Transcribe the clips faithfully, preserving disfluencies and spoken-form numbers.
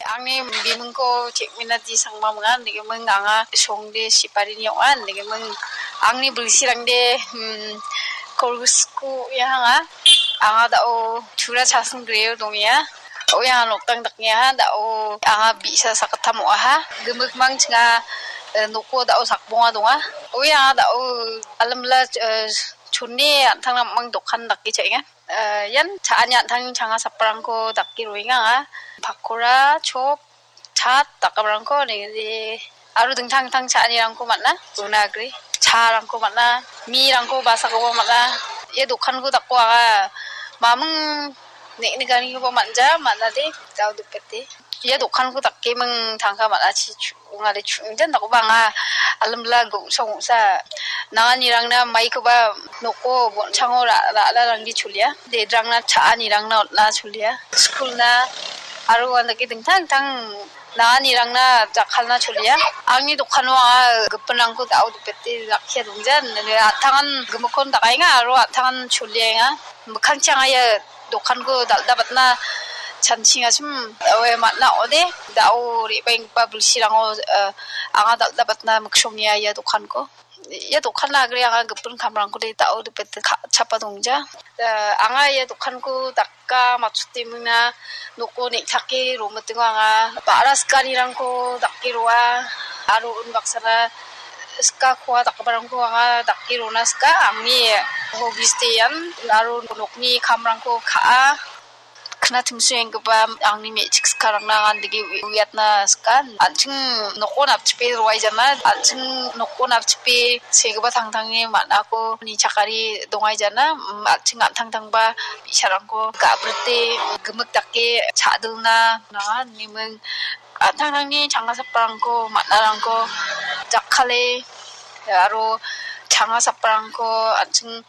Angni bimingko Chekmina D Sangma ong·a, indegiming anga Songde Siparini ong·a, indegiming angni bilsirangde, hmm, Korgusku ong·aha. Anga da·o Tura Chasing Greo dong·a. Oya nokdang dakngaha, da·o anga bi·sa sakgittam ong·aha. Gimikmang chinga, eh, noko da·o sakbonga donga. Oya anga da·o alamla, eh, chone an·tangna dokan dake cha·enga. Eh, ian cha·ani an·tangni changa saprangko dake roenga anga. Pakora, chop, chat, dakgiparangko nengde aro dingtang dingtang cha·anirangko man·a, una agree. Charangko man·a, mirangko basakoba man·a. Ia dokanko dako anga maming ne·nikanikoba man·ja, man·ade, dao dipete. Ia dokanko dake ming tangka man·a, chi chu-, ongade chu-, injan dakoba anga alimla gongsa gongsa nanganirangna maikoba noko bon·chango ra-, ra·larangde cholia. Dedrangna cha·anirangna on·a cholia. Skulna aro uandake dingtang dingtang nanganirangna jakkalna cholia. Angni dokano anga gipinrangko da·o dipete rakkia dongjan. An·tangan gimikkon dakaenga aro an·tangan choliaenga. Mikkangchi anga ia dokanko dal·dabatna chanchingachim, oe, man·a ong·ode. Da·o re·baenggipa bilsirango, eh, anga dal·dabatna miksongia ia dokanko. Ia dokanna agre anga gipin kamrangkode da·o dipete ka-, chapa dongja. Eh, anga ia dokanko daka matchotemingna noko neng·take romitingo anga. Ba·ra sikanirangko dake roa aro unbaksana sika koa dakgiparangko anga dake rona sika. Angni hobbies-de ian aro nokni kamrangko ka·a. Kna timsoenggipa angni me·chik sikarangna anga dake uiatna sika. An·ching nokon apchipe roaijana, an·ching nokon apchipe segipa tangtangni man·ako nichakari dongaijana, mm, an·ching an·tangtangba bi·sarangko ga·brite gimik dake cha·dilna nanga, niming an·tangtangni changa saprangko, man·arangko jakkale aro changa saprangko an·ching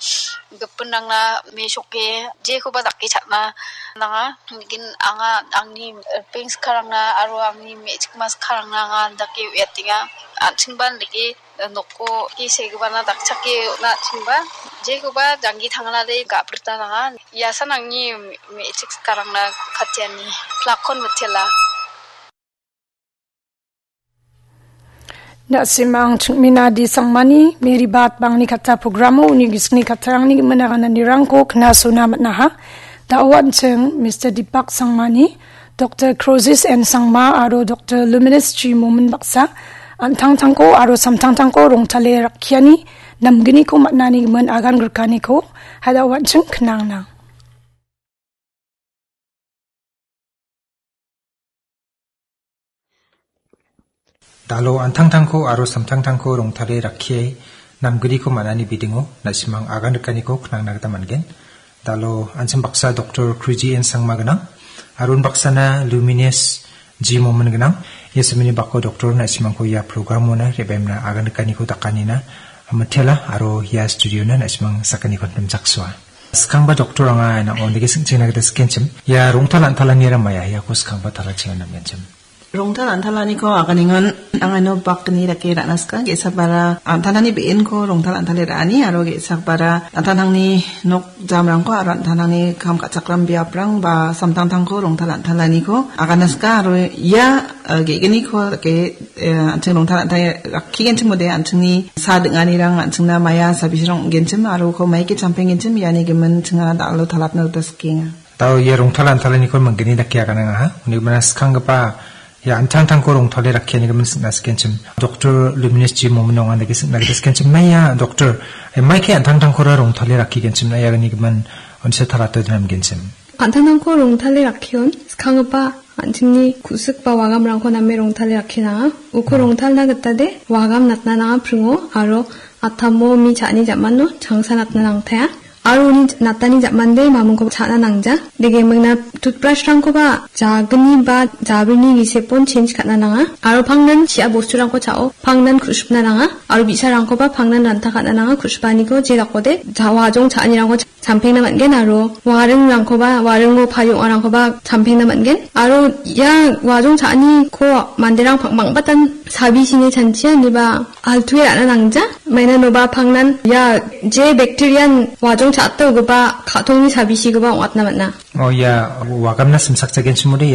gipinrangna mesoke jekoba dake cha·na nanga. Lekin anga angni, eh, peng sikarangna aro angni me·chikma sikarangna anga andake uiatenga. An·chingba andake, eh, noko ki segipana dakchake on·a an·chingba. Jekoba janggi tangnade ga·brita nanga. Iasan angni me-, me·chik sikarangna katiani. Plakkon mitela. Na·simang Chingmina D Sangmani Mary Bat Bangni Katta programo uni gisikni kattarangni gimin agananirangko knasona man·aha. Da·o an·ching Mister Deepak Sangmani, Doktor Crozius N Sangma aro Doktor Luminous G Momin baksa an·tangtangko aro samtangtangko rongtale rakkiani namgniko man·ani gimin agan grikaniko ha da·o an·ching knangnang. Da·o an·tangtangko aro samtangtangko rongtale rakkie namgniko man·ani bidingo na·simang agan rikaniko knangna gita man·gen. Da·o an·ching baksa Doktor Kruji N Sangma gnang, aro unbaksana Luminous G Momin gnang. Ia samini bako doktor na·simangko ia programona re·baimna agan rikaniko dakanina mitela aro ia studiona na·simang sakaniko nimchaksoa. Skangba doktor anga nang·o nigi sing·chengna gita sikenchim. Ia rongtal an·talanira maia iako skangba talachina namgenchim. Rongtal an·talaniko aganengon angano bakni dake ra·na sika. Ge·sabara an·talani be·enko rongtal an·tale ra·ani aro ge·sabara an·tangtangni nok jamrangko aro an·tangtangni kam ka·chakram biaprang ba samtangtangko rongtal an·talaniko agana sika aro ia, eh, ge·gniko dake, eh, an·ching rongtal an·tale rakkigenchim ong·ode an·chingni sa ding·anirang an·chingna maia sabisirang ong·genchim aro uko maike champenggenchim iani gimin chinga da·alo talatna gita sikenga. Da·o ia rongtal an·talaniko manggni dake aganangaha. Uni gimina skanggipa ia an·tangtangko rongtale rakkiani gimin sing·na sikenchim. Doktor Luminous G Momin ong·a dake sing·na gita sikenchim. Na ia doktor, eh, maike an·tangtangkora rongtale rakkigenchim na ia gni gimin onse talate dinamgenchim. An·tangtangko rongtale rakkion skanggipa an·chingni ku·sik ba wagamrangko name rongtale rakkinanga. Uko Hmm. rongtalna gitade wagam natna nanga pringo aro atamo mi cha·ani jamano changsa natna nangtaia. Aro uni natani jamande mamingko cha·na nangja. Dege mingna toothbrush-rangkoba jagni ba jabrini gisepon change ka·na nanga. Aro pangnan chi·a bosturangko cha·o, pangnan ku·sipna nanga. Aro bi·sarangkoba pangnan ranta ka·na nanga, ku·sipaniko je dakode ja-, wajong cha·anirangko cha-, champengna man·gen aro waringrangkoba, waringo pario ong·arangkoba champengna man·gen. Aro ia wajong cha·aniko manderang pang-, bang·batan sabisini chanchia ineba altu·e ra·na nangja. Maina inoba pangnan ia je bacteria-n wajong cha·atna ugipa ka·tongni sabisikoba ong·atna man·a. O ia wagamna simsakjagenchimode ia